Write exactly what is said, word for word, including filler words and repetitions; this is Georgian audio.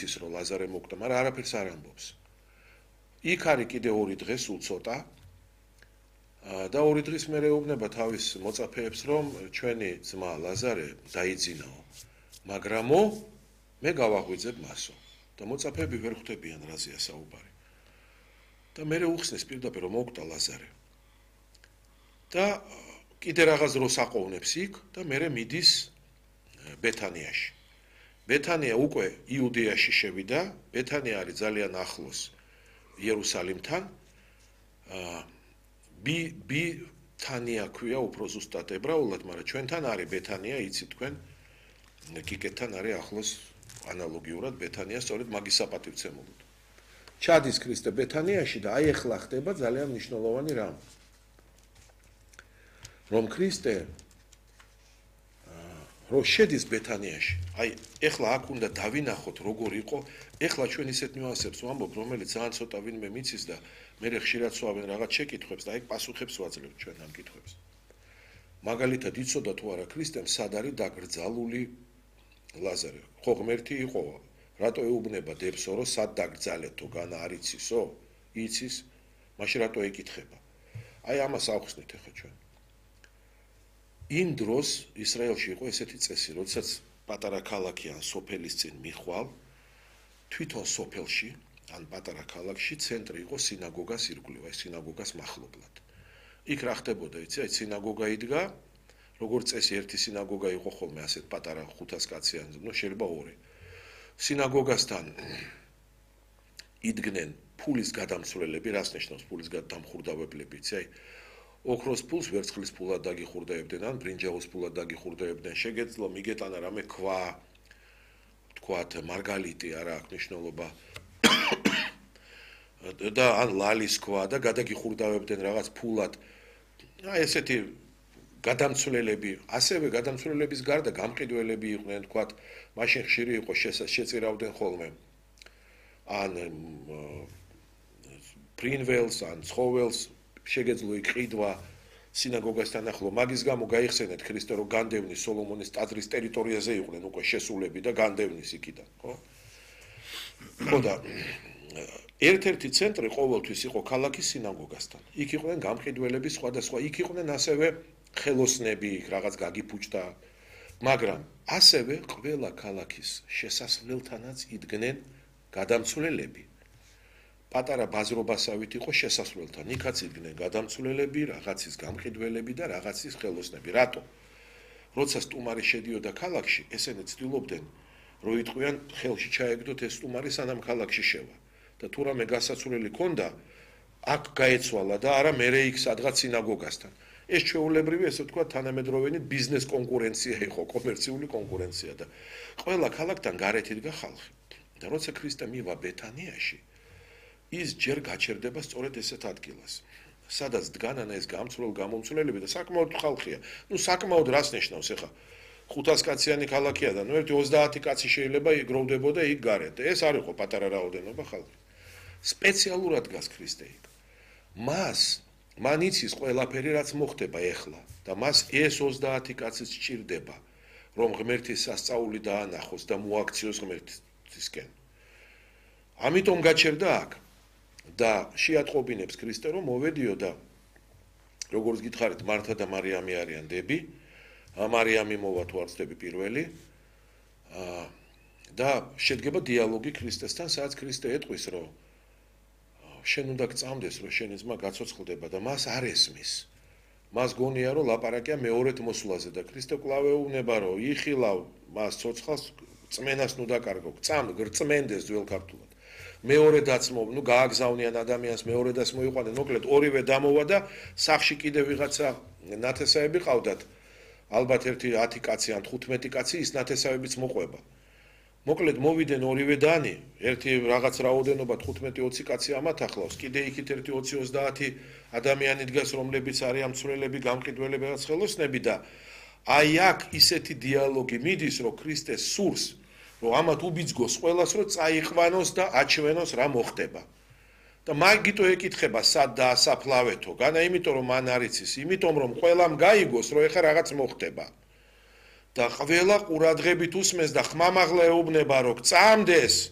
იცის რომ ლაზარე მოკდა, მაგრამ არაფერს არ ამბობს. იქ არის კიდე ორი დღე სულ ცოტა. და ორი დღის მერე ეუბნება თავის მოწაფეებს რომ ჩვენი ძმა ლაზარე დაიძინაო, მაგრამო მე გავაღვიძებ მასო. და მოწაფეები ვერ ხვდებიან რაზეა საუბარი. და მერე უხსნის პირდაპირ რომ მოკდა ლაზარე. და კიდე რაღაც დროს აყოვნებს იქ და მერე მიდის ბეთანიაში. ბეთანია უკვე იუდეაში შევიდა, ბეთანია არის ძალიან ახლოს იერუსალიმთან. ბი ბითანია ქვია უფრო ზუსტად ებრაულად, მაგრამ ჩვენთან არის ბეთანია, იცით თქვენ, გიგეთთან არის ახლოს ანალოგიურად ბეთანია, სწორედ მაგის საპატივცემულოდ. ჩადის ქრისტე ბეთანიაში და აი ახლა ხდება ძალიან მნიშვნელოვანი რამ. რომ ქრისტე რო შედის ბეთანიაში, აი ახლა აქ უნდა დავინახოთ როგორ იყო, ახლა ჩვენ ისეთ ნიუანსებს ვამბობ, რომელიც ძალიან ცოტა ვინმე მიცის და მე ხშირად სვავენ რაღაც შეკითხვებს და აი პასუხებს ვაძლევთ ჩვენ ამ კითხვებს. მაგალითად იცოდა თუ არა ქრისტემ სად არის დაკრძალული ლაზარე. ხო ღმერთი იყო, რატო ეუბნება დებსო რომ სად დაკრძალეთო, განა არ იცისო? იცის, მაშინ რატო ეკითხება? აი ამას ავხსნით ახლა ჩვენ. იმ დროს ისრაელში იყო ესეთი წესი, როდესაც პატარა ქალაქი ან სოფელის წინ მიხვალ, თვითონ სოფელში ან პატარა ქალაქში ცენტრი იყო სინაგოგას ირგვლივ, აი სინაგოგას მახლობლად. იქ რა ხდებოდა, იცი, აი სინაგოგა იდგა, როგორც წესი ერთი სინაგოგა იყო ხოლმე ასეთ პატარა ხუთას კაციან, ნუ შეიძლება ორი. სინაგოგასთან იდგნენ ფულის გადამცვლელები, რას ნიშნავს ფულის გადამხურდავებლები, იცი, აი ოქროს ფულს ვერცხლის ფულად დაგიხურდაებდნენ, ან ბრინჯაოს ფულად დაგიხურდაებდნენ, შეგეძლო მიგეტანა რამე ქვა, თქვათ მარგალიტი არა აქვს მნიშვნელობა. და ან ლალის ქვა და გადაგიხურდავებდნენ რაღაც ფულად. აი ესეთი გადამცვლელები, ასევე გადამცვლელების გარდა გამყიდველები იყვნენ, თქვათ, მაშინ ხშირი იყო შეწირავდნენ ხოლმე. ან ფრინველს, ან ცხოველს შეგეძლო იქ ყიდვა სინაგოგასთან ახლო. მაგის გამო გაიხსენეთ ქრისტე რომ განდევნის სოლომონის ტაძრის ტერიტორიაზე იყვნენ უკვე შესულები და განდევნის იქიდან, ხო? ხო და ერთ-ერთი ცენტრი ყოველთვის იყო ქალაქის სინაგოგასთან. იქ იყვნენ გამყიდველები სხვადასხვა, იქ იყვნენ ასევე ხელოსნები, რაღაც გაგიფუჭდა, მაგრამ ასევე ყველა ქალაქის შესასვლელთანაც იდგნენ გადამცვლელები. პატარა ბაზრობასავით იყო შესასვლელთან, იქაც იდგნენ გადამცვლელები, რაღაცის გამყიდველები და რაღაცის ხელოსნები. რატო? როცა სტუმარი შედიოდა ქალაქში, ესენი ცდილობდნენ, რომ იტყვიან ხელში ჩაეგდოთ ეს სტუმარი სანამ ქალაქში შევა. და თუ რამე გასაცვლელი ქონდა, აქ გაეცვალა და არა მერე იქ სადღაც სინაგოგასთან. ეს ჩვეულებრივი, ესე ვთქვათ, თანამედროვენი ბიზნეს კონკურენცია იყო, კომერციული კონკურენცია და ყველა ქალაქთან გარეთ იდგა ხალხი. და როცა ქრისტე მივა ბეთანიაში, ის ჯერ გაჩერდება სწორედ ესეთ ადგილას. სადაც დგანან ეს გამცვლელ გამომცვლელები და საკმაოდ ხალხია. ნუ საკმაოდ რას ნიშნავს ახლა? ხუთას კაციანი ქალაქია და ნუ ერთი ოცდაათი კაცი შეიძლება იგროვდებოდა იქ გარეთ. ეს არ იყო პატარა რაოდენობა ხალხი. სპეციალურად გას ქრისტე იქ. მას მან იცის ყველაფერი რაც მოხდება ეხლა და მას ეს ოცდაათი კაციც სჭირდება, რომ ღმერთის სასწაული დაანახოს და მოაქციოს ღმერთისკენ. ამიტომ გაჩერდა აქ და შეატყობინებს ქრისტე რომ მოვედიო და როგორც გითხარით მართა და მარიამი არიან დები, მარიამი მოვა თუ არ ვცდები პირველი და შედგება დიალოგი ქრისტესთან, სადაც ქრისტე ეტყვის რომ შენ უნდა გწამდეს რომ შენი ძმა გაცოცხლდება და მას არ ესმის. მას გონია რომ ლაპარაკია მეორედ მოსვლაზე და ქრისტე კვლავ ეუბნება რომ იხილავ მას ცოცხალს წმენას ნუ დაკარგო, წამ გრწმენდეს ძველ ქართულად. მეორედაც მო, ნუ გააგზავნიან ადამიანს, მეორედაც მოიყვანენ, მოკლედ ორივე დამოვა და სახში კიდე ვიღაცა ნათესავები ყავდათ. ალბათ ერთი ათი კაცი ან თხუთმეტი კაცი ის ნათესავებიც მოყვება. მოკლედ მოვიდნენ ორივე დანი, ერთი რაღაც რაოდენობა თხუთმეტი ოცი კაცი ამათ ახლავს, კიდე იქით ერთი ოცი ოცდაათი ადამიანი დგას, რომლებიც არიან მცვლელები, გამყიდველები, რაღაც ხელოსნები და აი აქ ისეთი დიალოგი მიდის, რომ ქრისტე სურს, რომ ამათ უბიძგოს ყველას, რომ წაიყვანოს და აჩვენოს რა მოხდება. და მაგიტო ეკითხება სად დაასაფლავეთო, განა იმიტომ რომ მან არ იცის, იმიტომ რომ ყველამ გაიგოს, რომ ეხა რაღაც მოხდება. და ყველა ყურადღებით უსმენს და ხმამაღლა ეუბნება, რომ წამდეს